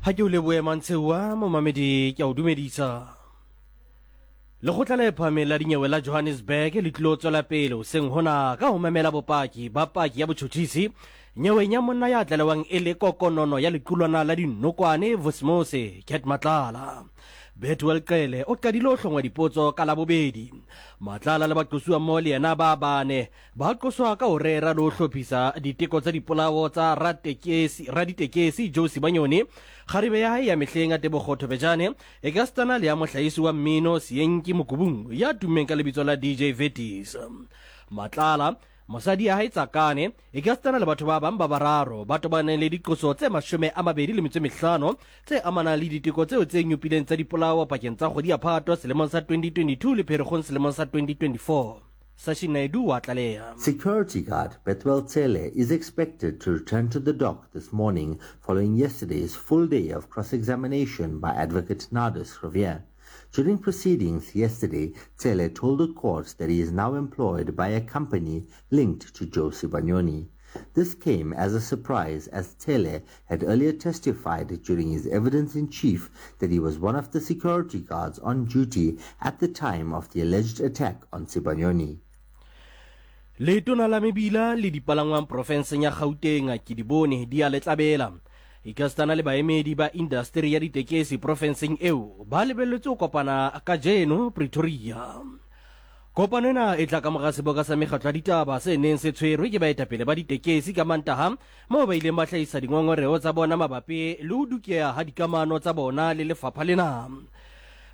Ha ke o lebohe Mantsheuwa, momamedi ke a o dumedisa. Lekgotla le phahameng la dinyewe la Johannesburg le tlilo tswela pele hoseng hona ka ho memela bopaki ba paki ya botjhotjhisi nyeweng ya monna ya tlalewang e le kokonono ya lequlwana la dinokwane Vosmose Cat Matlala. Bethuel Qele o qadile ho hlongwa dipotso ka Labobedi. Matlala le baqosuwa mmoho le yena ba bane Ba qoswa ka ho rera le ho hlophisa diteko tsa dipolao tsa ratekesi, raditekesi Joe Sibanyoni, kgarebe ya hae ya mehleng Tebogo Thobejane, ekasitana le ya mohlahisi wa mmino Seyenki Mokubung ya tummeng ka lebitso la DJ Vetis. Matlala, mosadi ya hae Tsakane, ekasitana le batho ba bang ba bararo ba tobaneng le diqoso tse 25 tse amanang le diteko tseo tse nyopileng tsa dipolao pakeng tsa kgwedi ya Phato selemong sa 2022 le Pherekgong selemong sa 2024. Sashin Naidoo wa tlaleha. Security guard Bethuel Tsele is expected to return to the dock this morning following yesterday's full day of cross-examination by advocate Nardus Riviere. During proceedings yesterday, Tsele told the court that he is now employed by a company linked to Joe Sibanyoni. This came as a surprise as Tele had earlier testified during his evidence in chief that he was one of the security guards on duty at the time of the alleged attack on Sibanyoni. Letona la mebila le dipalangwang profenseng ya Gauteng Kedibone Diale-Tlabela ekasitana le baemedi ba indasteri ya ditekesi profenseng eo ba lebelletswe ho kopana kajeno Pretoria. Kopano ena e tla ka mora seboka sa mekgatlo ya ditaba se neng se tshwerwe ke baetapele ba ditekesi ka Mantaha moo ba ileng ba hlahisa dingongoreo tsa bona mabapi le ho dukeha ha dikamano tsa bona le lefapha lena.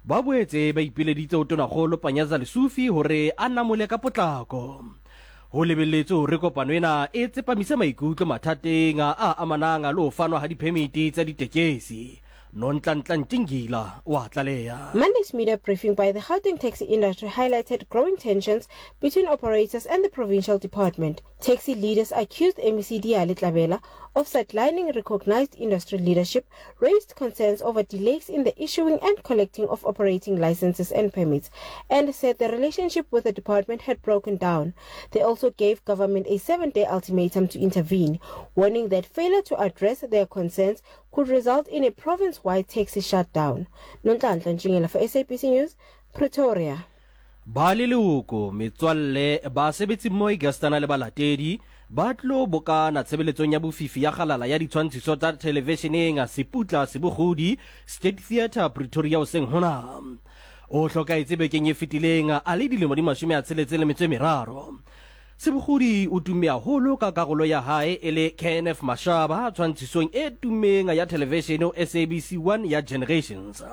Ba boetse ba ipileditse ho Tonakgolo Panyaza Lesufi hore a namole ka potlako. Ho lebelletswe hore kopano ena e tsepamise maikutlo mathateng a amanang le ho fanwa ha diphemiti tsa ditekesi. Nonhlanhla Ntingila wa tlaleha. Monday's media briefing by the Gauteng taxi industry highlighted growing tensions between operators and the provincial department. Taxi leaders accused MEC Diale Tlabela of sidelining recognized industry leadership, raised concerns over delays in the issuing and collecting of operating licenses and permits, and said the relationship with the department had broken down. They also gave government a seven-day ultimatum to intervene, warning that failure to address their concerns could result in a province-wide taxi shutdown. Nonhlanhla Ntshingila for SABC News, Pretoria. Ba leloko, metswalle, basebetsimmoho ekasitana le balatedi ba tlo bokana tshebeletsong ya bofifi ya kgalala ya ditshwantshiso tsa thelevisheneng Seputla Sebogodi, State Theatre, Pretoria hoseng hona. O hlokahetse bekeng e fetileng a le dilemo di 63. Sebogodi o tumme haholo ka karolo ya hae e le Kenneth Mashaba tshwantshisong e tummeng ya thelevishene ho SABC 1 ya Generations.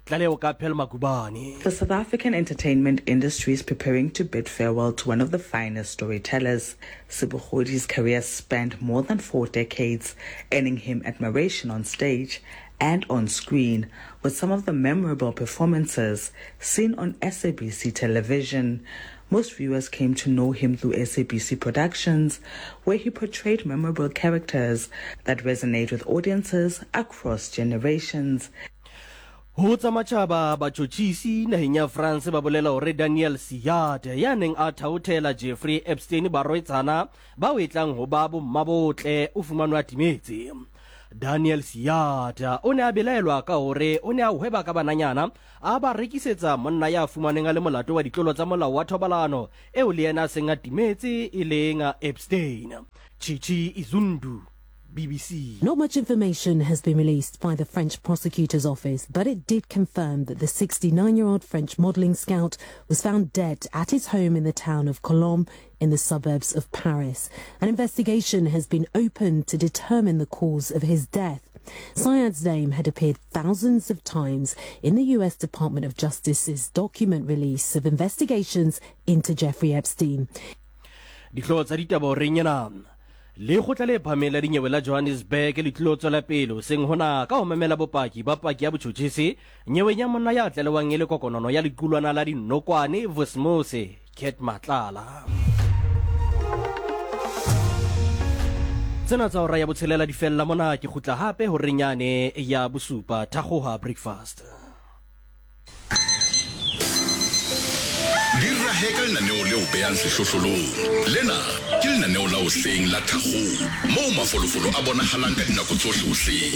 Tlaleho ka Pearl Magubane. The South African entertainment industry is preparing to bid farewell to one of the finest storytellers. Sebogodi's career spanned more than four decades, earning him admiration on stage and on screen with some of the memorable performances seen on SABC television. Most viewers came to know him through SABC Productions, where he portrayed memorable characters that resonate with audiences across generations. Ho tsa matjhaba, batjhotjhisi naheng ya France ba bolela hore Daniel Siad ya neng a thaothela Jeffrey Epstein barwetsana bao e tlang ho ba bommabotle o fumanwe a timetse. Daniel Siad o ne a belaelwa ka hore o ne a hweba ka bananyana a ba rekisetsa monna ya fumanweng a le molato wa ditlolo tsa molao wa thobalano eo le yena a seng a timetse e leng Epstein. Chichi Izundu, BBC. Not much information has been released by the French prosecutor's office, but it did confirm that the 69 year old French modeling scout was found dead at his home in the town of Colombes in the suburbs of Paris. An investigation has been opened to determine the cause of his death. Syed's name had appeared thousands of times in the US Department of Justice's document release of investigations into Jeffrey Epstein. Dihlooho tsa ditaba horeng ena. Lekgotla le phahameng la dinyewe la Johannesburg le tlilo tswela pele hoseng hona ka ho memela bopaki ba paki ya botjhotjhisi nyeweng ya monna ya tlalewang e le kokonono ya lequlwana la dinokwane Vusmusi Cat Matlala. Tsena tsa hora ya botshelela di fella mona ke kgutla hape horeng yane ya bosupa thakgoha breakfast. Di rahe ka lenaneo leo beang sehlohlolong. Lena ke lenaneo la hoseng la Thakgong moo mafolofolo a bonagalang ka dinako tsohle hoseng.